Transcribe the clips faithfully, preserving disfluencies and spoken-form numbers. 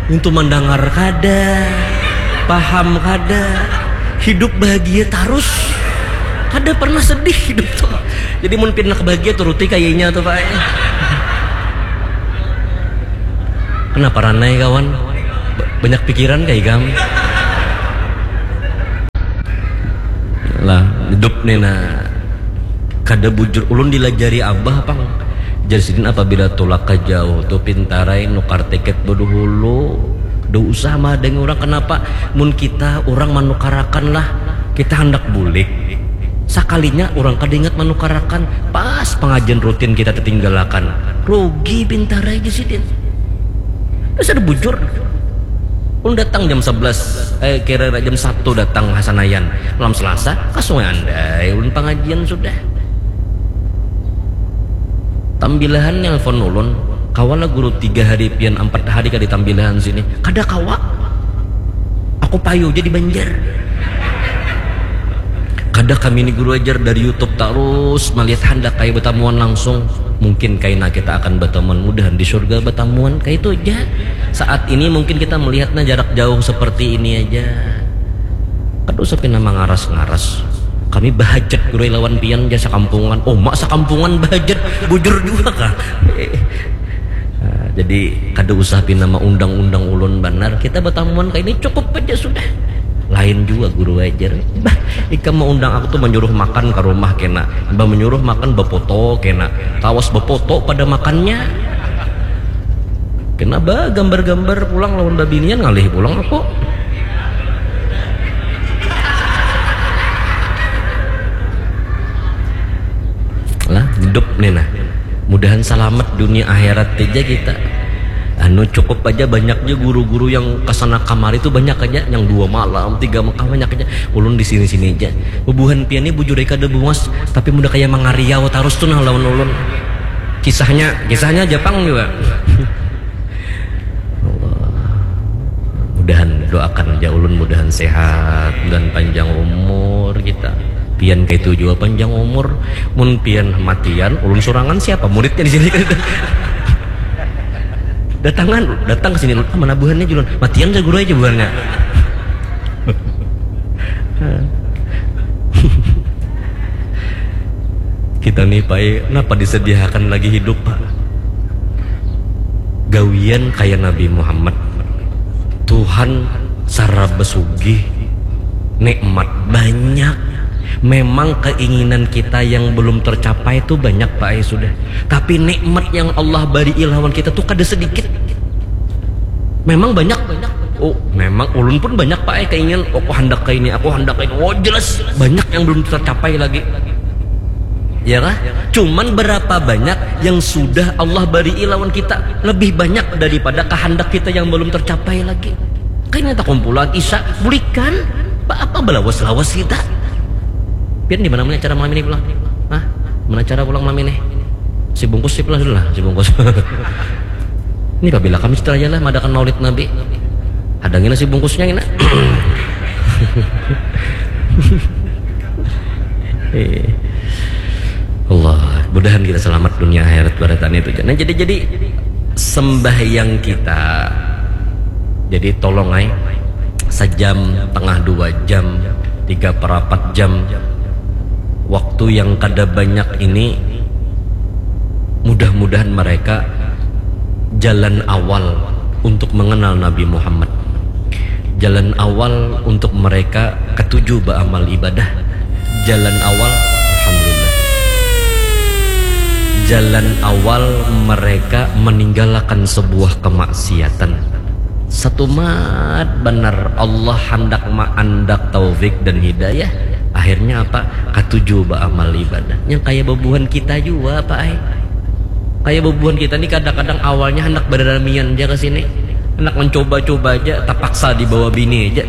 Untuk mendengar kada, paham kada, hidup bahagia terus, kada pernah sedih hidup tuh. Jadi mun pinak bahagia turuti kayaknya tuh pak. Kenapa ranai kawan? Banyak pikiran kayak kamu. Lah hidup nih nah. Kada bujur ulun dilajari abah pang. Jar sidin apabila tulak ka jauh tu pintarai nukar tiket beduhulu. Kada usah mahadangi urang kenapa mun kita urang manukarakan lah kita handak bulik. Sakalinya urang kada ingat manukarakan pas pangajian rutin kita tatinggalakan. Rugi pintarai jar sidin. Dasar bujur. Ulun datang jam sebelas, eh, kira-kira jam satu datang Hasanayan. Malam Selasa, ka Sungai Andai ulun pangajian sudah. Tambilahan nelpon ulun, kawalah guru tiga hari pian empat hari ka di Tambilahan sini. Kada kawa. Aku payu jadi Banjar. Kada kami ni guru ajar dari YouTube terus melihat handak kaya batamuan langsung. Mungkin kaina kita akan batamuan mudahan di surga batamuan kaitu ja. Saat ini mungkin kita melihatnya jarak jauh seperti ini aja. Kada usah pina mangaras-ngaras. Kami bahajat guru lawan pian ja sakampungan. Oma sakampungan bahajat bujur juga kah? Nah, jadi kada usah pina maundang-undang ulun banar. Kita batamuan kaini cukup aja sudah. Lain jua guru ajar. Bah, ikam maundang aku tu manyuruh makan ka rumah kena. Bah manyuruh makan bapoto kena. Kawas bapoto pada makannya. Kena bagambar-gambar pulang lawan babinian ngalih pulang aku. Lah hidup nih nah. Mudahan salamat dunia akhirat aja kita. Anu cukup aja banyak aja guru-guru yang kesana kamari tuh banyak aja yang dua malam tiga Mekah banyak aja. Ulun di sini-sini aja. Bubuhan pian nih bujur kada bungas tapi mudah kayak mangariau terus tuh nah lawan ulun. Kisahnya, kisahnya Jepang juga. Allah. Mudahan doakan aja ulun mudahan sehat dan panjang umur kita. Pian kaitu jua panjang umur. Mun pian matian, ulun surangan siapa muridnya di sini? Datangan, datang ke sini ulun. Ah, mana buhannya julun? Matian saya guru aja buhannya. Kita nih pai, kenapa disediakan lagi hidup pak? Gawian kaya Nabi Muhammad. Tuhan saraba sugih, nikmat banyak. Memang keinginan kita yang belum tercapai itu banyak pak ai sudah. Tapi nikmat yang Allah bari lawan kita tuh kada sedikit. Memang banyak. Oh, memang ulun pun banyak pak ai keinginan. Oh, aku hendak ke ini, aku hendak ke ini. Oh, jelas banyak yang belum tercapai lagi. Ya kah? Cuman berapa banyak yang sudah Allah beri lawan kita lebih banyak daripada kehendak kita yang belum tercapai lagi. Kayaknya tak kumpulan Isa bulikan apa belawas-lawas kita. Pian di mana mana acara malam ini pulang? Hah? Mana acara pulang malam ini? Si bungkus si pulang dulu lah, si bungkus. Ini apabila kami cerita aja lah madakan Maulid Nabi. Ada ngina si bungkusnya ngina. Eh. Allah, mudahan kita selamat dunia akhirat barataan itu. Nah, jadi jadi sembahyang kita jadi tolong ay sejam tengah dua jam tiga perapat jam waktu yang kada banyak ini mudah-mudahan mereka jalan awal untuk mengenal Nabi Muhammad. Jalan awal untuk mereka ketujuh beramal ibadah. Jalan awal, alhamdulillah. Jalan awal mereka meninggalkan sebuah kemaksiatan. Satu mat benar Allah hendak maandak taufik dan hidayah. Akhirnya apa? Ketujuh beramal ibadah. Yang kayak bebuhan kita juga apa ay? Kayak bebuhan kita nih kadang-kadang awalnya hendak beramian aja ke sini, hendak mencoba-coba aja, terpaksa dibawa bini aja.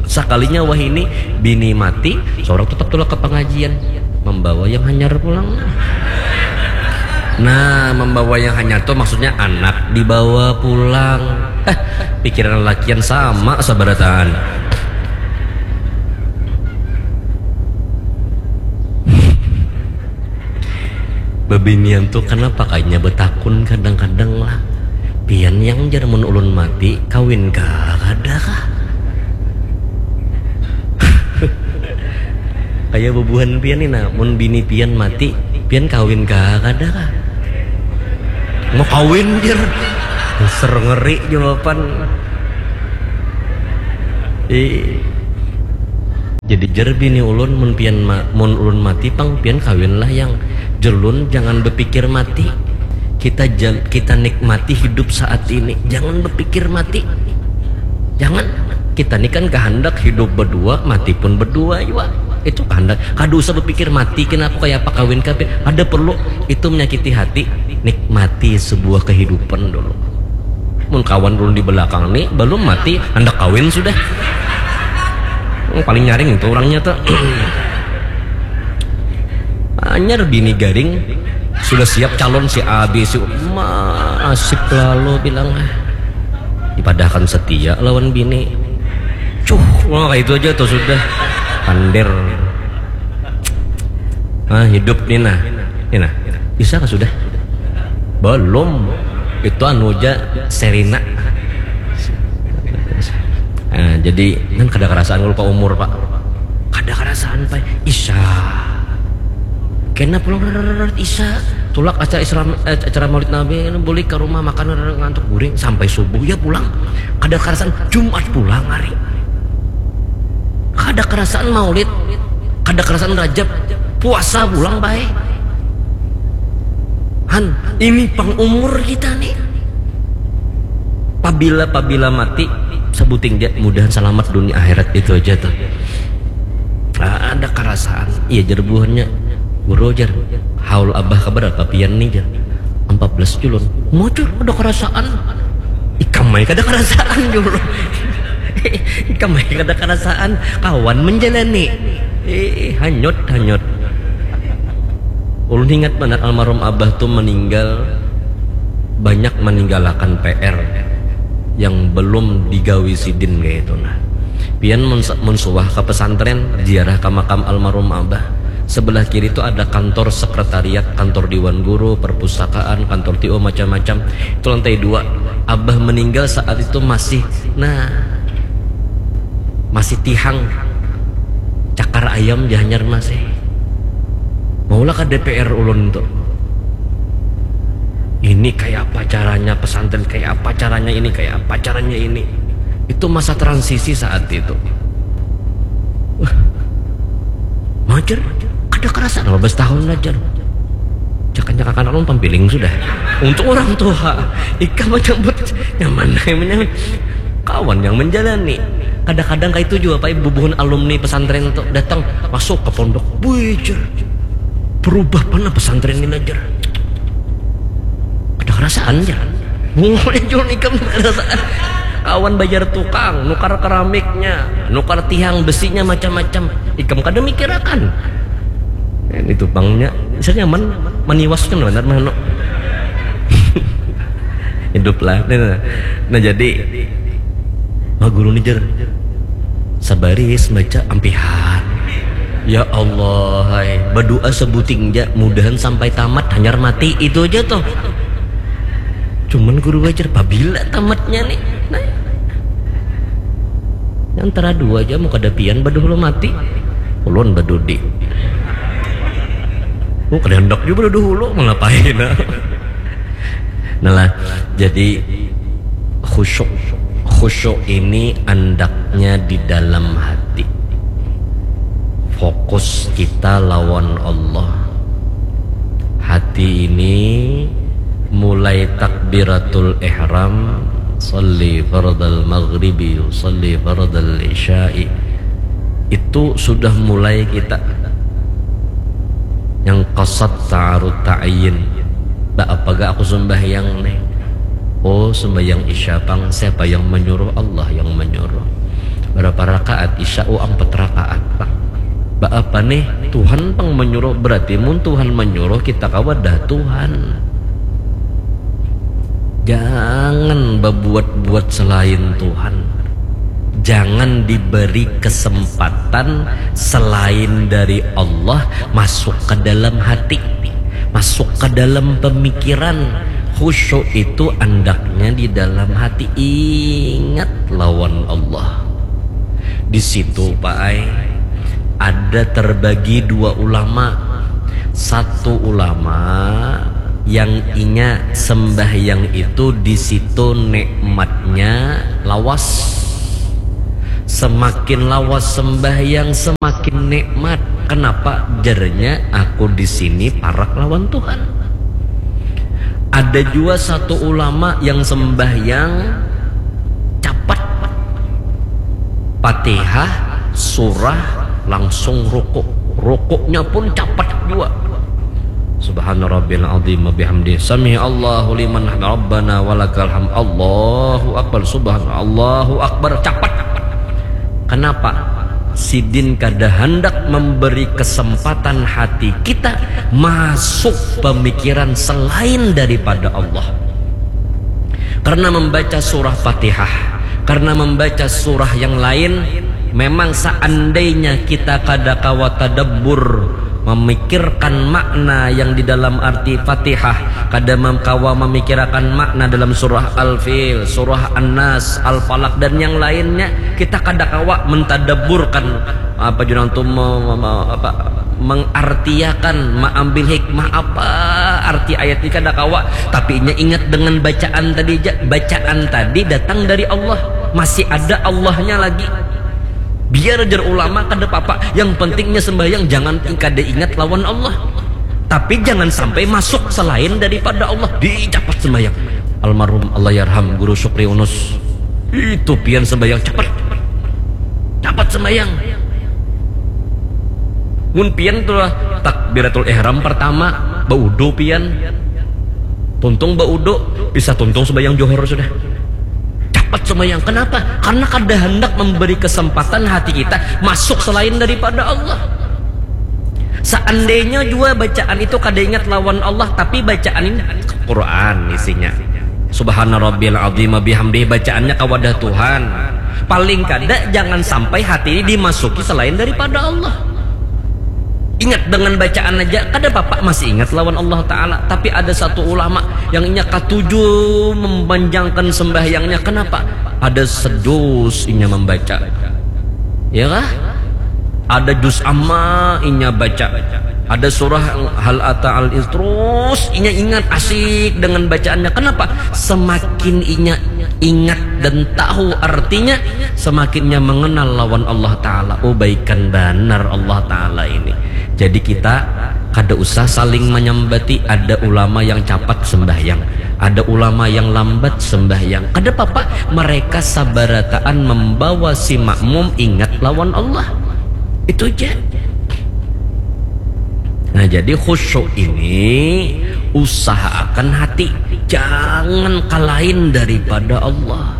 Sekalinya wah ini bini mati, seorang tetap tulak ke pengajian, membawa yang hanyar pulang. Nah, membawa yang hanyar tuh maksudnya anak dibawa pulang. Eh, pikiran lakian sama sabarataan. Bebinian tuh kenapa kayaknya betakun kadang-kadang lah. Pian Yang jar mun ulun mati, kawin kah kada kah? Kaya bubuhan pian ni nah, mun bini pian mati, pian kawin kah kada kah? Mau kawin jar. Ser ngeri jawaban. Ih. Jadi jar bini ulun, mun pian ma, mun ulun mati pang pian kawinlah yang, jelun jangan bepikir mati. Kita jal, kita nikmati hidup saat ini, jangan bepikir mati. Jangan. Kita ni kan kehendak hidup berdua, mati pun berdua jua. Itu kehendak. Kada usah bepikir mati, kenapa, kaya apa kawin kah pian. Kada perlu. Itu menyakiti hati. Nikmati sebuah kehidupan dulu. Mun kawan ulun di belakang ni belum mati, handak kawin sudah. Hmm, paling nyaring itu orangnya tuh. Anyar bini garing, sudah siap calon si A, B, si U. Masih lalu bilang, ah, dipadahkan setia lawan bini. Cuh, wah, itu aja tuh sudah. Pandir. Ah, hidup ni nah. Ni nah. Bisa kah sudah? Belum. Itu anu aja, Serina. Ah, jadi kan kada kerasaan kalau ke umur, Pak. Kada kerasaan, Pak. Isa. Kena pulang, rrrr, Isa. Tulak acara Isra, eh, acara Maulid Nabi, bulik ke rumah makan, rrrr, ngantuk guring sampai subuh ya pulang. Kada kerasaan Jumat pulang hari. Kada kerasaan Maulid, kada kerasaan Rajab, puasa pulang bae. Han, ini pang umur kita nih. Pabila, pabila mati, sebuting ja, mudahan selamat dunia akhirat, itu aja tuh. Ah, ada kerasaan. Iya, jar buhannya, guru, jar, haul abah keberapa pian nih, jar? Empat belas julun. Mujur, ada kerasaan. Ikam ai kada kerasaan, julun. Ikam ai kada kerasaan. Kawan menjalani. Eh, hanyut, hanyut. Ulun ingat banar almarhum abah tuh meninggal, banyak meninggalkan P R yang belum digawi sidin kayak itu nah. Pian mun, mun suah ke pesantren, ziarah ke makam almarhum abah. Sebelah kiri itu ada kantor sekretariat, kantor dewan guru, perpustakaan, kantor T O, macam-macam. Itu lantai dua. Abah meninggal saat itu masih, nah, masih tihang. Cakar ayam jahanyar masih. Maulah ke D P R ulun tuh. Ini kayak apa caranya pesantren, kayak apa caranya ini, kayak apa caranya ini. Itu masa transisi saat itu. Wah, majar, kada kerasa lima belas tahun lah, jar. Jangan-jangan anak ulun pampiling sudah. Untuk orang tua, ikam menyambut nyaman, nyaman. Kawan yang menjalani. Kadang-kadang kayak itu juga, Pak, bubuhan alumni pesantren tuh datang, masuk ke pondok. Wih, jar. Berubah mana pesantren ini, jar. Ada kerasaan, jar. Bungulnya jual ikam ada kerasaan. Kawan bayar tukang, nukar keramiknya, nukar tiang besinya, macam-macam. Ikam kada mikirakan. Ini tupangnya, bisa nyaman, maniwaskan benar mah, no. Hiduplah. Nah, nah, nah, jadi, wah, guru ni, jar. Sabaris baca ampihan. Ya Allah, hai. Berdoa sebuting ja, mudahan sampai tamat, hanyar mati, itu aja tuh. Cuman guru wajar, pabila tamatnya nih. Nah. Antara dua aja, mau kada pian badahulu mati. Ulun badudi. Oh, kada hendak juga badahulu, mau ngapain? Nah lah, jadi khusyuk. Khusyuk ini andaknya di dalam hati. Fokus kita lawan Allah. Hati ini mulai takbiratul ihram, salli fardal maghribi, salli fardal isya'i. Itu sudah mulai kita yang qasad ta'arud ta'yin. Ba apa ga aku sembahyang nih? Oh, sembahyang isya pang. Siapa yang menyuruh? Allah yang menyuruh. Berapa rakaat isya? Oh, empat rakaat pang. Ba apa nih? Tuhan pang menyuruh. Berarti mun Tuhan menyuruh, kita kawa dah Tuhan. Jangan berbuat-buat selain Tuhan. Jangan diberi kesempatan selain dari Allah masuk ke dalam hati, masuk ke dalam pemikiran. Khusyuk itu andaknya di dalam hati ingat lawan Allah. Di situ, Pak ai, ada terbagi dua ulama. Satu ulama yang inya sembahyang itu di situ nikmatnya lawas. Semakin lawas sembahyang, semakin nikmat. Kenapa? Jarnya, aku di sini parak lawan Tuhan. Ada jua satu ulama yang sembahyang capat. Fatihah, surah, langsung rukuk. Rukuknya pun capat jua. Subhana rabbil azim wa bihamdi. Sami Allahu liman hamd. Rabbana walakal hamd. Allahu akbar. Subhana Allahu akbar. Capat. Kenapa? Sidin kada hendak memberi kesempatan hati kita masuk pemikiran selain daripada Allah. Karena membaca surah Fatihah, karena membaca surah yang lain, memang seandainya kita kada kawa tadabbur, memikirkan makna yang di dalam arti Fatihah, kada mem-, kawa memikirakan makna dalam surah Al-Fil, surah An-Nas, Al-Falaq, dan yang lainnya, kita kada kawa mentadabburkan apa jurang tu me-, me-, me-, apa, mengartiakan, maambil hikmah apa arti ayat ini kada kawa, tapi inya ingat dengan bacaan tadi ja, bacaan tadi datang dari Allah, masih ada Allahnya lagi. Biar jar ulama kada papa, yang pentingnya sembahyang jangan kada ingat lawan Allah. Tapi jangan sampai masuk selain daripada Allah, dicapat sembahyang. Almarhum Allahyarham Guru Syukri Unus, itu pian sembahyang capat. Capat sembahyang. Mun pian tu lah takbiratul ihram pertama, baudu pian. Tuntung baudu, bisa tuntung sembahyang johor sudah. Capat sembahyang. Kenapa? Karena kada hendak memberi kesempatan hati kita masuk selain daripada Allah. Seandainya jua bacaan itu kada ingat lawan Allah, tapi bacaan ini Quran isinya. Subhana rabbiyal azim wa bihamdih, bacaannya ka wadah Tuhan. Paling kada jangan sampai hati ini dimasuki selain daripada Allah. Ingat dengan bacaan aja, kada papa masih ingat lawan Allah Ta'ala. Tapi ada satu ulama yang inya katuju memanjangkan sembahyangnya. Kenapa? Ada sedus inya membaca. Ya kah? Ada juz amma inya baca. Ada surah hal ata al is, terus inya ingat asik dengan bacaannya. Kenapa? Semakin inya ingat dan tahu artinya, semakinnya mengenal lawan Allah Ta'ala. Oh, baikan banar Allah Ta'ala ini. Jadi kita kada usah saling menyambati, ada ulama yang capat sembahyang, ada ulama yang lambat sembahyang. Kada papa, mereka sabarataan membawa si makmum ingat lawan Allah. Itu aja. Nah, jadi khusyuk ini usahakan hati jangan kalain daripada Allah.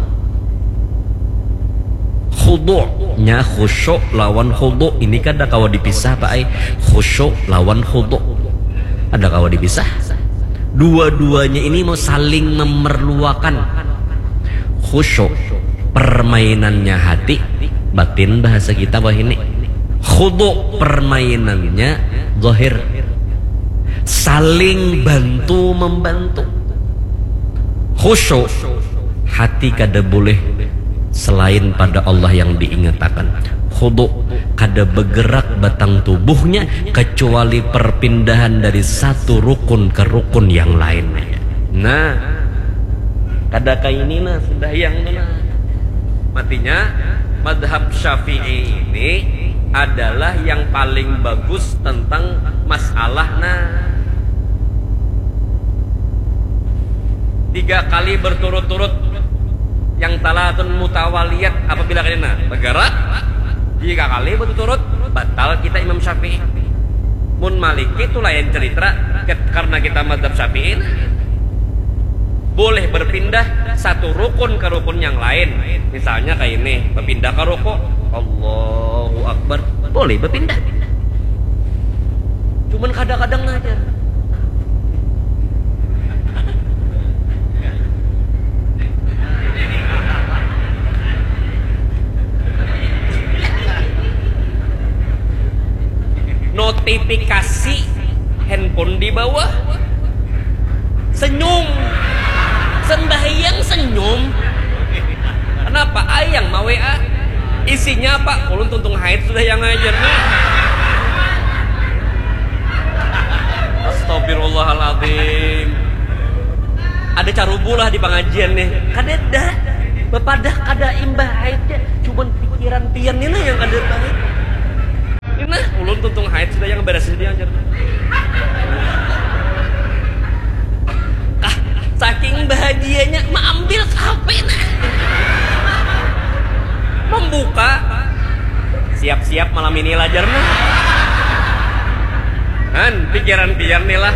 Khudu' nya, khusyuk lawan khudu' ini kada kawa dipisah, Pak ai. Khusyuk lawan khudu' kada kawa dipisah. Dua-duanya ini mau saling memerluakan. Khusyuk permainannya hati, batin bahasa kita wahini. Khudu' permainannya zahir. Saling bantu membantu. Khusyuk, hati kada boleh selain pada Allah yang diingatakan. Khudu', kada bergerak batang tubuhnya kecuali perpindahan dari satu rukun ke rukun yang lainnya. Nah, kada kaini nah sembahyang tu nah. Matinya, madhab Syafi'i ini adalah yang paling bagus tentang masalah nah. Tiga kali berturut-turut yang talatun mutawaliyat apa bila kena bergerak tiga kali berturut-turut, batal kita Imam Syafi'i. Mun Maliki itu lain cerita, ket-, karena kita mazhab Syafi'i nah. Boleh berpindah satu rukun ke rukun yang lain. Misalnya kayak ini, berpindah ke ruku, Allahu Akbar, boleh berpindah. Cuman kadang-kadang aja. Notifikasi handphone di bawah. Senyum. Senyum. Kenapa? Ai yang ma-W A. Isinya apa? Ulun tuntung haid sudah yang ngajar nih. Astagfirullahaladzim. Ada carubu lah di pengajian nih. Kadada. Bapadah kada imbah haidnya. Cuman pikiran pian ni lah yang kada baik. Ini nah, ulun tuntung haid sudah yang beres dia ajar. Kah, saking bahagianya maambil H P nah. Membuka. Siap-siap malam ini lah jar nah. Han, pikiran pian nih lah.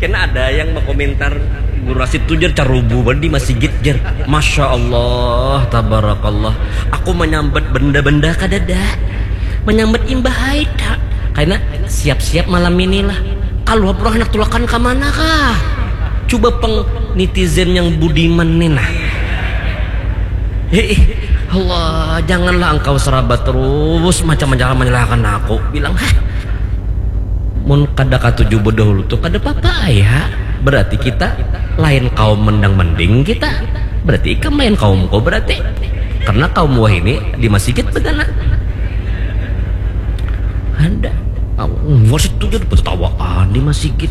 Kena ada yang berkomentar Guru Rasid tu jar carubu banget di masigit jar. Masya Allah, tabarakallah. Aku menyambat benda-benda kadada. Menyambat imbah haid kak. Karena siap-siap malam inilah. Kalau pulang anak tulakan ke mana kah? Coba peng netizen yang budiman nih nah. Hei, Allah, janganlah engkau serabut terus macam-macam menyalahkan aku. Bilang, hah? Mun kada katuju bedahulu tuh kada apa-apa ya. Berarti kita lain kaum mendang mending kita. Berarti ikam lain kaumku berarti. Karena kaum wahini di masigit begana. Ada. Wasit tuh jadi bertawaan di masigit.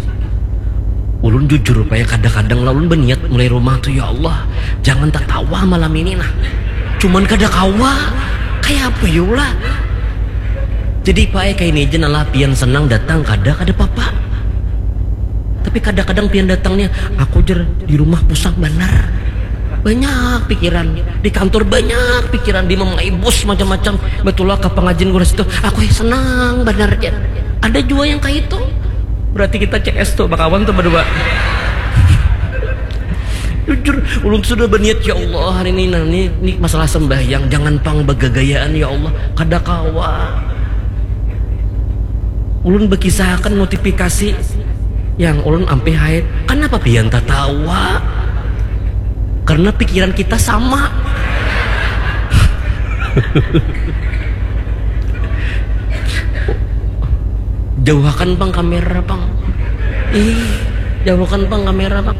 Ulun jujur paya kadang-kadang lah ulun berniat mulai rumah tuh ya Allah. Jangan tertawa malam ini nah. Cuman kada kawa. Kayak apa ya lah? Jadi pae kaini aja nalah pian senang datang kada kada papa. Tapi kadang-kadang pian datangnya aku jer di rumah pusang banar. Banyak pikiran, di kantor banyak pikiran, di memangai bos macam-macam. Betul lah ke pengajian guru situ, aku senang banar jer. Ada juga yang kayak itu. Berarti kita C S tuh bakawan tuh berdua. Jujur, ulun sudah berniat ya Allah hari ini nah ini, ini masalah sembahyang jangan pang begagayaan ya Allah. Kada kawa. Ulun berkisahkan notifikasi yang ulun ampe haid. Kenapa pian tertawa? Karena pikiran kita sama. Jauhakan pang kamera pang. Ih, jauhakan pang kamera pang.